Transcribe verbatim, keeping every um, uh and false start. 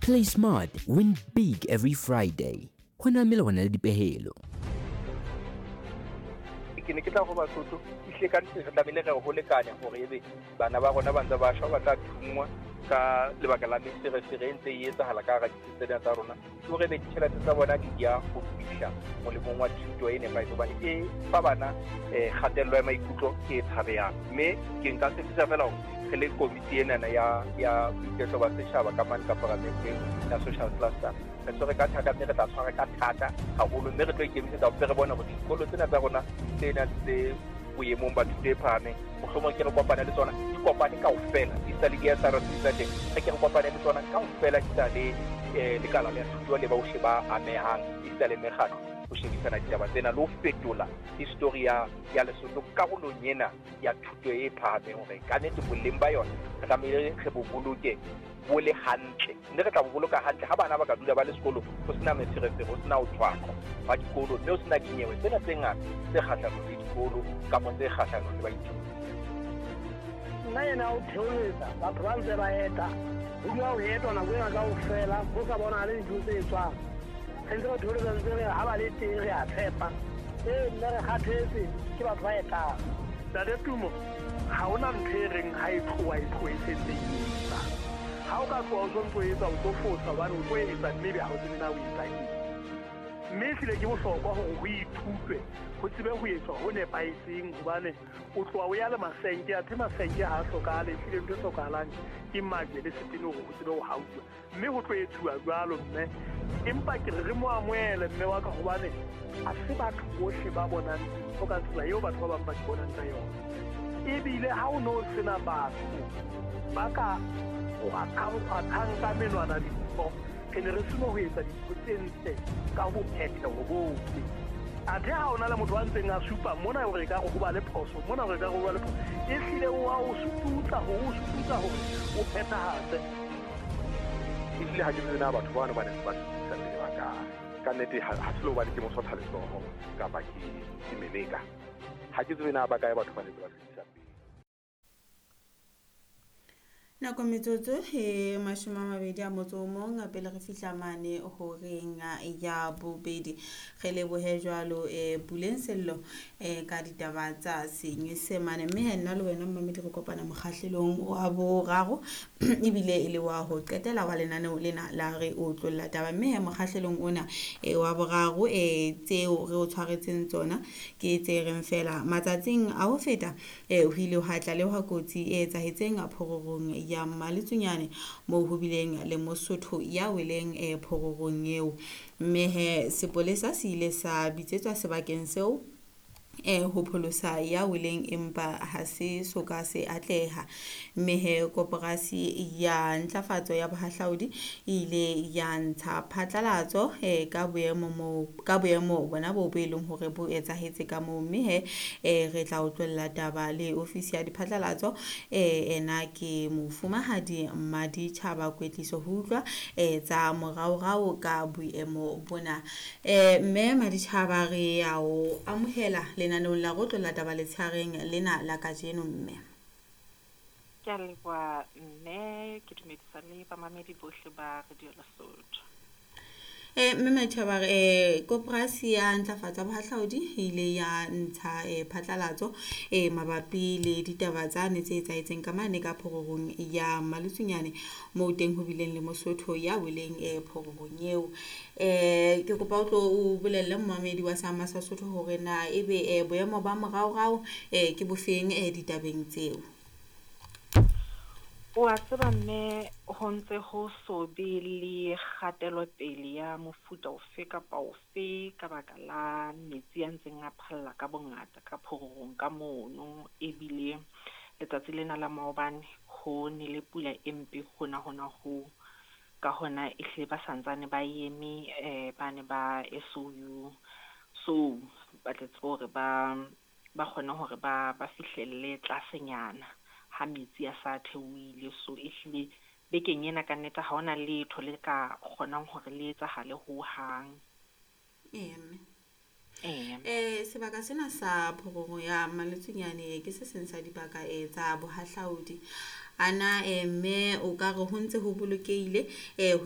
Play smart, win big every Friday. Ho na melawana le dipehelo. Ke ne ke tla go Basotho ehlile ka nnete re tlamehile re ho lekanya hore ebe bana ba rona ba ntse ba shwa, ba tla thungwa ka lebaka la meferefere e ntse e etsahala ka hara ditsi tsena tsa rona, ke hore ebe ditjhelete tsa bona di ya ho fihla molemong wa thuto e nepahetseng, hobane e fa bana um kgatello ya maikutlo e tshabehang. Mme ke nka tshepisa feela hore re le komiti enana ya ya boiketlo ba setjhaba ka mane ka paramenteng ya social cluster, re tshwere ka thata, mme re tla tshwara ka thata haholo, mme re tlo ikemisetsa hore re bone hore dikolo tsena tsa rona tsena tse boemong ba thuto e phahameng, mohlomong ke re kopane le tsona, di kopane kaofela, di sa le di-S R C tsa teng, re ke re kopane le tsona kaofela, di sa le eh, lekala la thuto le bohle ba amehang, esita le mekgatlo, ho shebisana ditaba tsena le ho fetola history ya ya Lesotho karolong ena ya thuto e phahameng, hore ka nnete boleng ba yona re tlamehile re bo boloke bo le hantle, mme re tla bo boloka hantle ha bana ba ka dula ba le sekolong, ho sena meferefere, ho sena ho tshwaqwa ba dikolo, mme ho sena dinyewe tsena tse ngata tse kgahlanong le dikolo kapa tse kgahlanong le baithuti. Nna ena o theoletsa batho ba ntse ba eta, ho dula ho etwa nako ena kaofela, ho sa bonahale dintho tse etswang. Re ntse re theoletsa ntse re ha ba le teng re a tshepa. Ee, mme re kgathetse ke batho ba etang. Ntate Tumo, ha hona ntho e reng ha e tloha e tlohe e sentse e etsa. Ha o ka tloha o sontso o etsa, o tlo fosa hobane o tlo etsa mme ebe ha o tsebe na o etsa eng. Mme ehlile ke bohlokwa hore ho ithutwe, ho tsebe ho etswa ho nepahetseng, hobane o tloha o ya le masenke, athe masenke ha a hlokahale, ehlile ntho e hlokahalang ke majwe le setene hore ho tsebe ho hauwa. Mme ho tlo etsuwa jwalo mme, empa ke re re mo amohele mme wa ka, hobane ha se batho bohle ba bonang dintho ka tsela eo batho ba bang ba di bonang ka yona. Ebile ha o no sena batho ba ka kgwathang ka menwana dintho, re ne re seno ho etsa dintho tse ntle ka bophetheho bohle. Athe ha o na le motho a ntseng a supa mona hore ekare ho ba le phoso, mona hore ekare ho ba le phoso, ehlile o a o sututsa hore o sututsa hore o phethahatse. Ehlile ha ke tsebe na batho bano ba ne ba fetisa pele ba kae. Ka nnete ha ha se le hobane ke mosotha letsoho kapa ke ke meleka. Ha ke tsebe na ba kae batho ba ne ba fetisa pele. Nako metsotso e mashome a mabedi a motso o mong pele re fihla mane horeng ya bobedi. Re lebohe jwalo e Puleng Sello e ka ditaba tsa Senyesemane, mme he nna le wena mmamedi re kopana mokgahlelong wa boraro ebile e le wa ho qetela wa lenaneo lena la re o tlolla taba. Mme he mokgahlelong ona e wa boraro e tseo re o tshwaretseng tsona ke tse reng fela matsatsing a ho feta e ho ile ha tlalehwa kotsi e etsahetseng phororong ya Mmaletsunyane moo ho bileng le Mosotho ya weleng e phororong eo, mme he sepolesa se ile sa bitsetswa sebakeng seo e ho pholosa ya weleng, empa ha se soka se atleha. Mme he koporasi ya ntlafatso ya bohahlaudi e ile ya ntsha phatlalatso e ka boemo mo ka boemo bona bo bo e leng hore bo etsahetse ka moo. Mme he e re tla utlwella taba le ofisi ya diphatlalatso e ena ke mofumahadi Mmaditjhaba Kwetliso ho utlwa e tsa moraorao ka boemo bona. E mme Mmaditjhaba re ya o amohela lenaneong la go tlolla taba letshareng lena la kajeno. Mme ke a leboha mme, ke dumedisa le bamamedi bohle ba Radio Lesotho. Eh mme Mmaditjhaba, eh koporasi ya ntlafatso ya bohahlaudi e ile ya ntsha eh phatlalatso eh mabapi le ditaba tsa ne tse etsahetseng ka mane ka phororong ya Mmaletsunyane moo teng ho bileng le Mosotho ya weleng eh phororong eo. Eh ke kopa o tlo o bolelle momamedi wa Sama sa Sotho hore na ebe eh boemo ba moraorao eh ke bofeng eh ditabeng tseo. O a tseba mme, ho ntse ho so be le kgatelopele ya mofuta ofe kapa ofe ka baka la metsi a ntseng a phalla ka bongata ka phororong ka mono. Ebile letsatsi lena la maobane ho nele pula e mpe hona hona ho, ka hona ehlile ba santsane ba eme eh ba ne ba S O U, so ba tle tsebe hore ba ba kgone hore ba ba fihlelle tlasenyana ha metsi a sa theohile. So ehlile bekeng ena ka nnete ha hona letho le ka kgonang hore le etsahale hohang. Ee mme. Ee. Eh sebaka sena sa phororo ya Mmaletsunyane ke se seng sa dibaka e tsa bohahlaudi. Ana eh mme o ka re ho ntse ho bolokehile eh ho